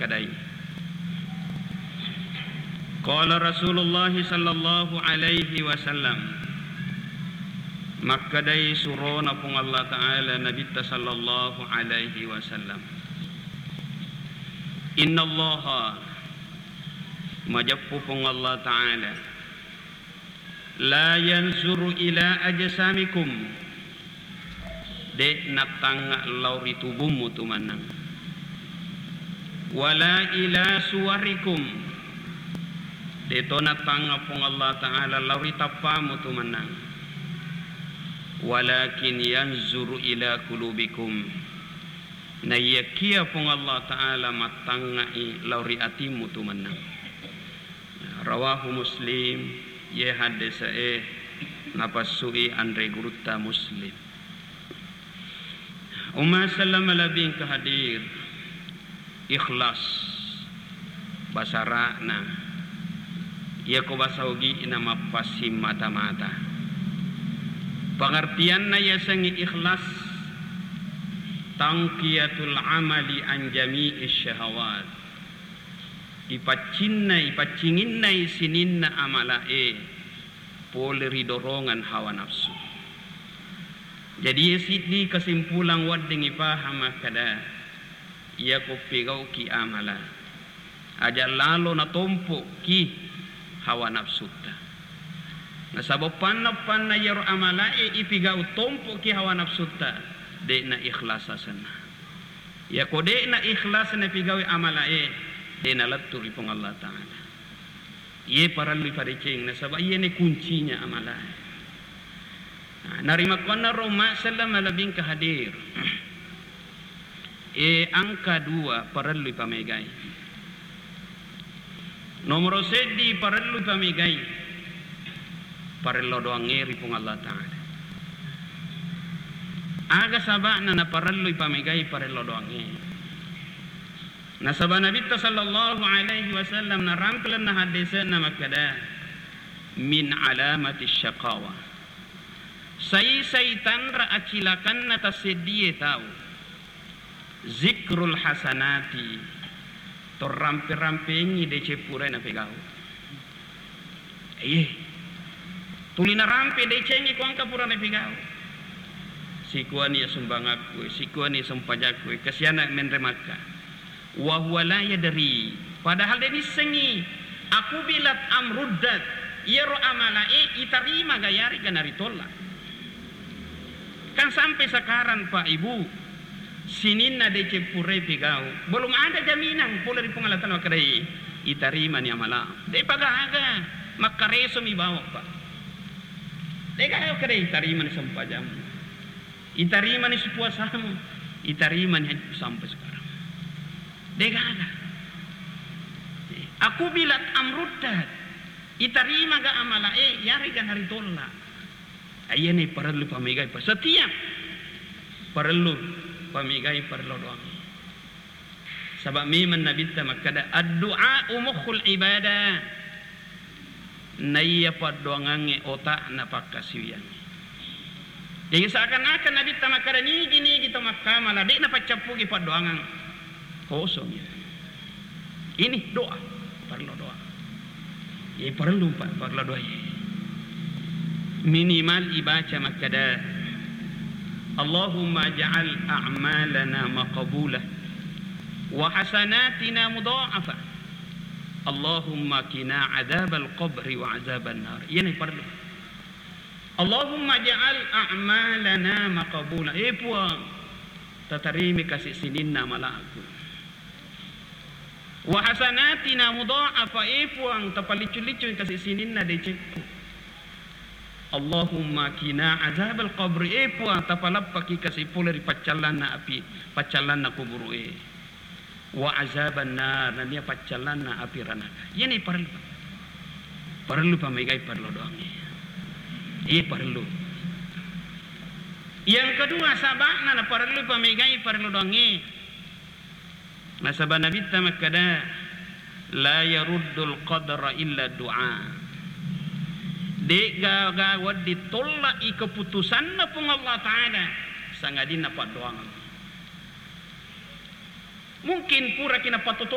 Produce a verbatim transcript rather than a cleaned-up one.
Makkedai. Qala Rasulullah sallallahu alaihi wasallam. Makkedai surona Puang Allah Ta'ala Nabitta sallallahu alaihi wasallam. Innallaha, majeppu Puang Allah Ta'ala, la yanzuru ila ajsamikum, de' nattangnga lao ri tubummu tu mennang. Wala ila suwarikum, de' to nattangnga Puang Allah Ta'ala lao ri tappammu tu mennang. Walakin yanzuru ila qulubikum, naiyakia Puang Allah Ta'ala mattangngai lao ri atimmu tu mennang. Rawahu Muslim, ye haddese'e napassui anre gurutta Muslim. Umma selleng malebbi engka hadir, ikhlas, basara'na, yako basa Ogi'na mappassimmata-mata. Pengertianna yasengnge ikhlas, tangkiyatul amali an jami'i syahawat. Ipaccinna, ipaccinginnai sininna amala'e pole ri dorongan hawa nafsu. Jadi, iye siddi kesimpulan wedding ipahang makkeda, iyako pigau'ki amala, aja lalo natompo'ki hawa nafsutta. Nasaba panna-panna iyaro amala'e ipigau tompo'ki hawa nafsutta, de'na ikhlas asenna. Yako de'na ikhlas napigaui amala'e, de' nalettu ri Puang Allah Ta'ala. Iye parellu ipadeceng, nasaba iyene kuncinya amala'e. Nah, narimakkuannaro umma selleng malebbi engka hadir. E, angka dua parellu ipamegai. Nomoro seddi parellu ipamegai, parello doangnge ri Puang Allah Ta'ala. Aga saba'na naparellu ipamegai parello doangnge? Nasaba Nabitta sallallahu alaihi wasallam narampe lalenna haddese'na makkeda, min alamati syaqawa, sai-sai tanra acilakanna tasseddie tau, zikrul hasanati, to rampe-rampengi deceng purae napegau. Iye. Tuli narampe decengnge ko engka pura napigau. Sikuani sumbangakku, sikuani sempajakku, kasiana menre Makka. Wa huwa la yadri. Padahal de' nissengngi. Akubilat am ruddat. Iyaro amala'e itarima ga yarega naritolla. Kan sampai sekarang, Pak, Ibu, sininna deceng purae pigau, belum ada jaminan pole ri Puang Allah Ta'ala makkedai itarimani amala. De'pa gaga, makkaresomi bawang, Pak. De'gaga makkedai itarimani sempajammu, itarimani supuasamu, itarimani hajji sampai sekarang. De'gaga. Akubilat am ruddat. Itarima ga amala'e, yarega naritolla. Iyene parellu pamegai, pa setiap parellu pamegai, parellu doangnge. Saba memang Nabitta makkeda, addu'a mukhul ibadah. Naiya paddoangangnge otakna pakkasiwiyangnge. Jadi seakan-akan Nabitta makkeda, nigi-nigi to makkamala, de'na paccappuki paddoangang. Kosong ya. Ini doa, parellu doa. Iye parellu, Pak, parellu doa. Minimal ibaca makkeda, Allahumma ja'al a'malana maqbula wa hasanatina mudha'afa. Allahumma qina adzabal qabri wa adzaban nar. Iyene parellu. Allahumma ja'al a'malana maqbula. Eh Puang, tatarimi kasi sininna amala'ku. Wa hasanatina mudha'afa, eh Puang, tapalliccu-liccui kasi sininna decekku. Allahumma qina adzabal qabri, eh Puang, tapaleppaki kasi pole ri paccallanna api, paccallanna kuburu'e. Wa azaban nar, nennia paccallanna api ranaka. Iyani parellu. Parellu pamegai parellu doangnge. Iye parellu. Yang kedua, saba'na na parellu pamegai parellu doangnge. Nasaba Nabitta makkeda, "La yaruddul qadra illa du'a." De'gaga wedding tolla'i keputusanna Puang Allah Ta'ala, sangadinna paddoangeng. Mungkin puraki napatoto